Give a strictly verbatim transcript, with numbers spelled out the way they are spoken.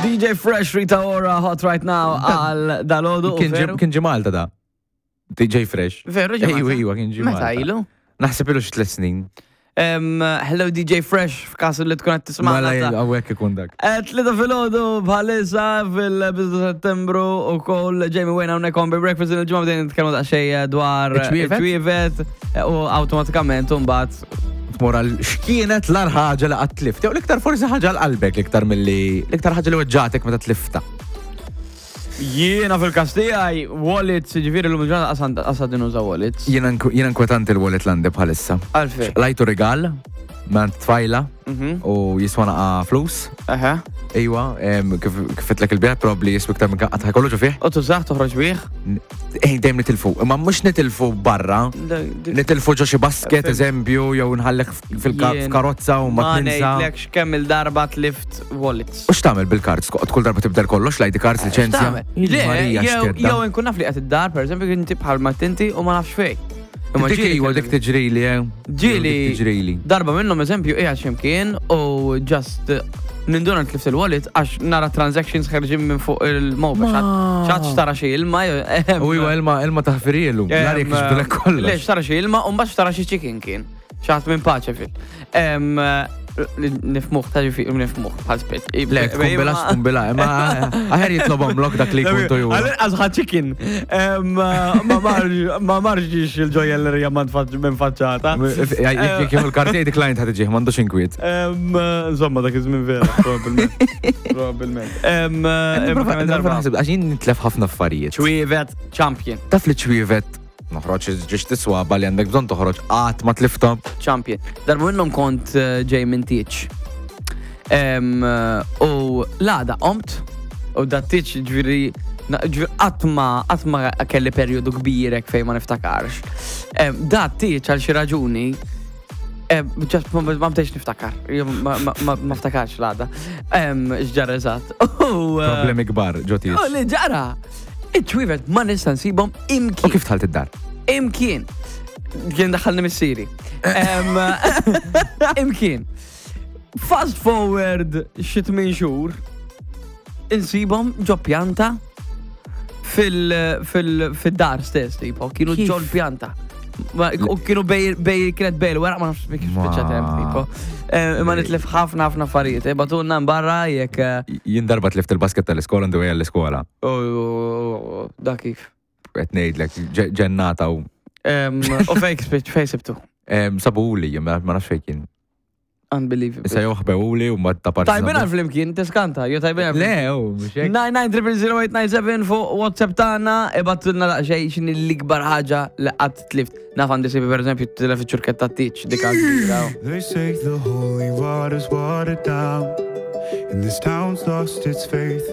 D J Fresh, Rita Ora, Hot Right Now għal dalgħodu. Kien ġi- Kien ġie Malta da. D J Fresh. Veru ġie Ejwa, Malta? ejwa, kien ġie Meta Malta. ilu? Naħseb ilu xi tliet snin. Em, hello D J Fresh, f'każ li tkun qed tisma'na. Mela ta' hawnhekk ikun dak. Tlieta filgħodu bħalissa fil-bidu Settembru u koll Jamie Wayne hawnhekk on Breakfast. Il-ġimgħa bdejna nitkellmu daqsxejn dwar Iċ-ċwievet? Iċ-ċwievet u awtomatikament mbagħad Tmur għal x'kienet l-agħar ħaġa li qatt tlift. Jew l-iktar forsi ħaġa għal qalbek l-iktar milli l-iktar ħaġa li weġġatek meta tlifta. Jiena fil-każ tiegħi wallets, ġifieri l-lum ġurnata qasad nuża wallets. Jiena nku- jiena inkwetanti l-wallet l-għandi bħalissa. Għalfejn? Lajtu rigal minn tfajla Mhm. u jiswa naqa flus. Aha. Ejwa, em, kif kif għedtlek il-bieraħ, probably jiswa iktar minn qatt kollu ġo fih. U tużax toħroġ bih? Ej, dejjem nitilfu. Imma mhux nitilfu barra. Nitilfu ġo xi basket, Fim. eżempju, jew nħallek Jien fil-karozza u ma Ma tinsa. ngħidlekx kemm il-darba tlift wallets. U x'tagħmel bil-cards? Kull darba tibdel kollox, l-I D cards, liċenzja? X'tagħmel? Le, Marija, jew x'kedda. jew inkun naf li qed id-dar, per eżempju, inti bħal ma tinti u ma nafx fejn. Imma Dik ġieli iwa, kelli- dik tiġrili, eh. Ġieli Dik tiġrili. Darba minnhom, eżempju, qiegħed x'imkien u just eh, ninduna tlift il-wallet għax nara transactions ħerġin minn fuq il-mobile. Ma. ċaċ tara xi ilma. eh, U iwa, ilma ilma taħfirielu. L-arja kixbdulek Le, kollox. xtara xi ilma u mbagħad xtara xi chicken kien. Xaħat minn Paċeville. Em, Nifmuħ, ta' ġifi, nifmuħ, bħal spet. Le, tkun bila, tkun bila. Imma aħjar jitlobhom lok dak li jkun to jura. Għal ħa chicken. Em, Ma marġ- ma marġix il-ġojellerija minn faċċata. Jekk jieħu l-karti decline ħad iġih, m'għandux inkwiet. Em, Insomma, dak iż-żmien vera, probabbilment. Probabbilment. Em, em, kemm darba. Naħseb, għax jien nitlef ħafna affarijiet. Ċwievet champion, Taf li ċwievet noħroġ ġiex tiswaba li għandek bżonn toħroġ qatt ma tlifta. Champion. Darba minnhom kont eh, ġej minn tieġ. Em, eh, U l-għada qomt, u da tieġ ġifieri, ġifieri qatt ma qatt ma kelli perjodu kbirek fejn ma niftakarx. Em, Da tieġ għal xi raġuni em, just ma ma bdejx niftakar, Jew ma ma- ma ma ftakarx l-għada. Em, X'ġara eżatt. U, eh, Problemi kbar ġo tieġ. U li ġara, iċ-ċwievet ma nista' nsibhom U imkien. kif dħalt id-dar? Imkien. Kien daħalni missieri. Em, Imkien. Fast forward xi tmien xhur, insibhom ġo pjanta fil- fil- fil-dar stess, tipo, kienu Kif? ġo l-pjanta. Ma- U kienu bej, bej, kienet bej l-weraq, ma nafx kif Ma- spiċċat hemm, tipo. Eh, Ma nitlef ħafna ħafna affarijiet, eh, bagħtulna barra jekk. eh, Jien darba tlift il-basket tal-iskola on the way għall-iskola. oh, oh, oh, Da kif? Qed ngħidlek ġe- ġennata u Em, U fejk spiċ, fej sibtu? em, sabuli, jien ma ma nafx fejn kien. Unbelievable. Issa joħbewuli u ma ta' parti. Tajbin għal flimkien, tiskanta, jo tajbin għal Le, u mhux hekk. nine nine zero zero zero eight nine seven fuq WhatsApp tagħna, ibgħatulna daqsxejn x'inhi l-ikbar ħaġa li qatt tlift. Naf għandi sibi, per eżempju, tilef iċ-ċurketta tieġ dik kbira. They say the holy water's watered down, and this town's lost its faith.